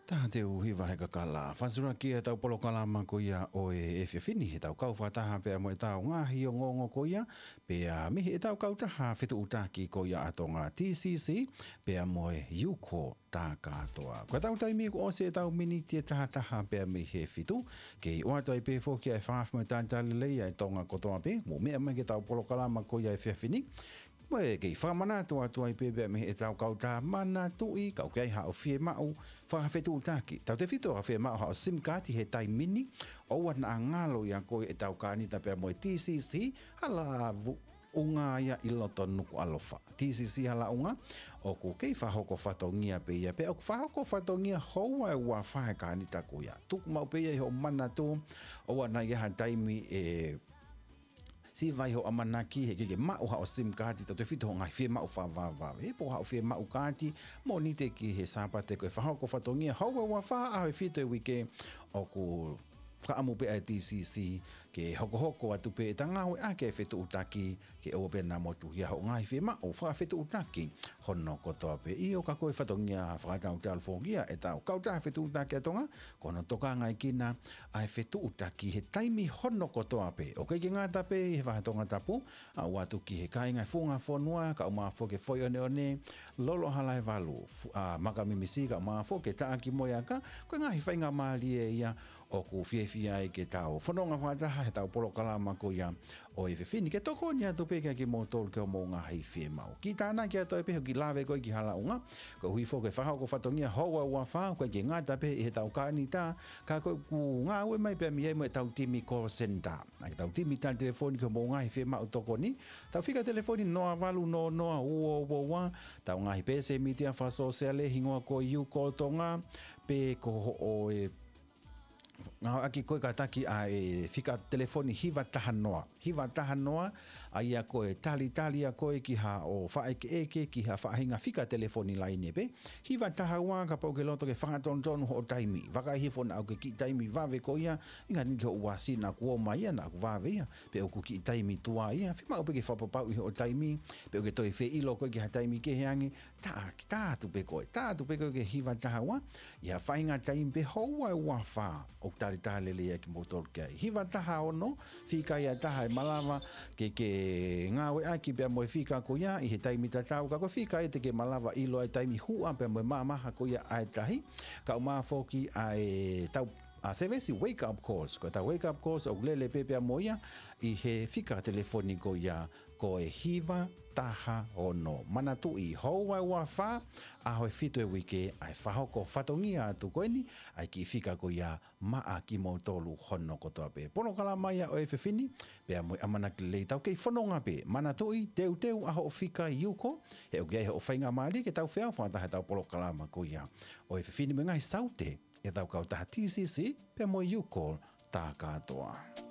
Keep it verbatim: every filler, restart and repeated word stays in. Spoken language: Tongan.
Taha teau hiva he kakala. Fakasolova ki heʻetau polokalama ko ia ʻo e efiafi ni, heʻetau kau fakataha pea mo ʻetau ngaahi ongoongo ko ia, pea mei heʻetau kautaha fetuʻutaki ko ia ʻa Tonga, T C C, pea mo e Yuko Takatoa. Ko ʻetau taimi kuo ʻosi ʻetau miniti ʻe taha taha pea mei he fitu, kei ʻoatu ai pē foki ʻa e fakaafeʻi mo e talitali lelei ʻa e Tonga kotoa pē, mou meʻa mai ki heʻetau polokalama ko ia he efiafi ni, mo e kei fakamanatu atu ai pē pea mei heʻetau kautaha, manatuʻi, ka ʻoku ʻi ai haʻo fiemaʻu fakafetuʻutaki, tautefito haʻo fiemaʻu haʻo SIM card he taimi ni, ʻoua naʻa ngalo ia ko ē ʻetau kānita pea mo e T C C, hala vu-, ʻunga ia ʻi loto Nukuʻalofa. T C C Halaʻunga, ʻoku kei fakahoko fatongia pē ia, pea ʻoku fakahoko fatongia houa ʻe ua fā e kānita ko ia. Tuku maʻu pē ia ʻi hoʻo manatu, ʻoua naʻa ʻi ai ha taimi ʻe siva ai hoʻo ʻamanaki he ʻikai ke maʻu haʻo SIM card, tautefito hoʻo ngaahi fiemaʻu fakavavevave. He pē ko haʻo fiemaʻu kaati, Mōnite ki he Sāpate ko e fakahoko fatongia houa ʻe ua fā, ʻaho ʻe fitu he uike, ʻoku fakaʻamu pē ʻa e T C C ke hokohoko atu pē ʻeta ngāueʻaki e fetuʻutaki ke ʻoua pē naʻa motuhia hoʻo ngaahi fiemaʻu fakafetuʻutaki hono kotoa pē. ʻIo, ka ko e fatongia fakatautefito foki ia ʻetau kautaha fetuʻutaki ʻa Tonga, ko hono tokangaekina ʻa e fetuʻutaki he taimi hono kotoa pē. ʻOku ʻikai ke ngata pē ʻi he vahe Tongatapu, ʻa ʻoatu ki he kāinga funga fonua, kae ʻumaʻā foki e Foʻi ʻOneʻone, Lolo Halaevalu, fu-, ʻa Makamimisi, kae ʻumaʻā foki e Taʻaki mo e Aka, ko e ngaahi faingamālie ia ʻoku fiefia ai ke tau fononga fakataha heʻetau polokalama ko ia ʻo e efiafi ni, ke tokoni atu pē kiate kimoutolu ki hoʻomou ngaahi fiemaʻu. Kiʻi tānaki atu ai pē hoʻo kiʻi lave ko ē ki Halaʻunga, koeʻuhi foki ko e fakahoko fatongia houa ʻe ua fā, ʻoku ʻikai ke ngata pē ʻi heʻetau kānita, ka ko ʻeku ngāue mai pē mei ai mo ʻetau timi call center. ʻA ʻetau timi tali telefoni ki hoʻomou ngaahi fiemaʻu tokoni. Tau fika telefoni noa valu noa noa ua ua ua, tau ngaahi peesi mītia fakasōsiale hingoa ko e Yuko Tonga, pe ko hoʻo e ngāueʻaki ko ē kātaki ʻa e fika telefoni hiva taha noa. Hiva taha noa, ʻa ia ko e talitali ʻa koe ki haʻo faʻaʻekeʻeke ki ha faʻahinga fika telefoni laine pē. Hiva taha ua, kapau ʻoku ke loto ke fakatonutonu hoʻo taimi. Vakai hifo naʻa ʻoku ke kiʻi taimi vave ko ia, ʻi he ngaahi ʻaho ni ki hoʻo uasi naʻa kuo ō mai ia, naʻa kuo vave ia, pe ʻoku kiʻi taimi tuai ia, fiemaʻu pē ke fakapapauʻi hoʻo taimi, pe ʻoku ke toe fie ʻilo koe ki ha taimi kehe ange, tā, tā atu pē koe, tā atu pē koe ki he hiva taha ua, ʻi ha faʻahinga taimi pē houa ʻe ua fā, ʻoku talitali lelei ai kimoutolu ki ai. Hiva taha ono, fika ia ʻe taha ʻe malava ke ke ngāueʻaki pea mo e fika ko ia ʻi he taimi tatau, ka ko e fika ia te ke malava ʻilo ai e taimi huʻa pea mo e mamaha ko ia ʻa e tahi, kae ʻumaʻā foki ʻa ʻetau, ʻa, service wake up calls. Ko ʻetau wake up calls ʻoku lele pē pea mo ia ʻi he fika telefoni ko ia ko e hiva taha ono. Manatuʻi, houa ʻe ua fā, ʻaho ʻe fitu he uike, ʻa e fakahoko fatongia atu ko eni ʻa e kiʻi fika ko ia maʻa kimoutolu hono kotoa pē. Polokalama ia ʻo e efiafi ni, pea mo e ʻamanaki lelei tau kei fononga pē. Manatuʻi, teuteu ʻa hoʻo fika Yuko, he ʻoku ʻi ai hoʻo faingamālie ke tau feau fakataha heʻetau polokalama ko ia ʻo e efiafi ni mo e ngaahi saute ʻetau kautaha T C C pea mo Yuko Takatoa.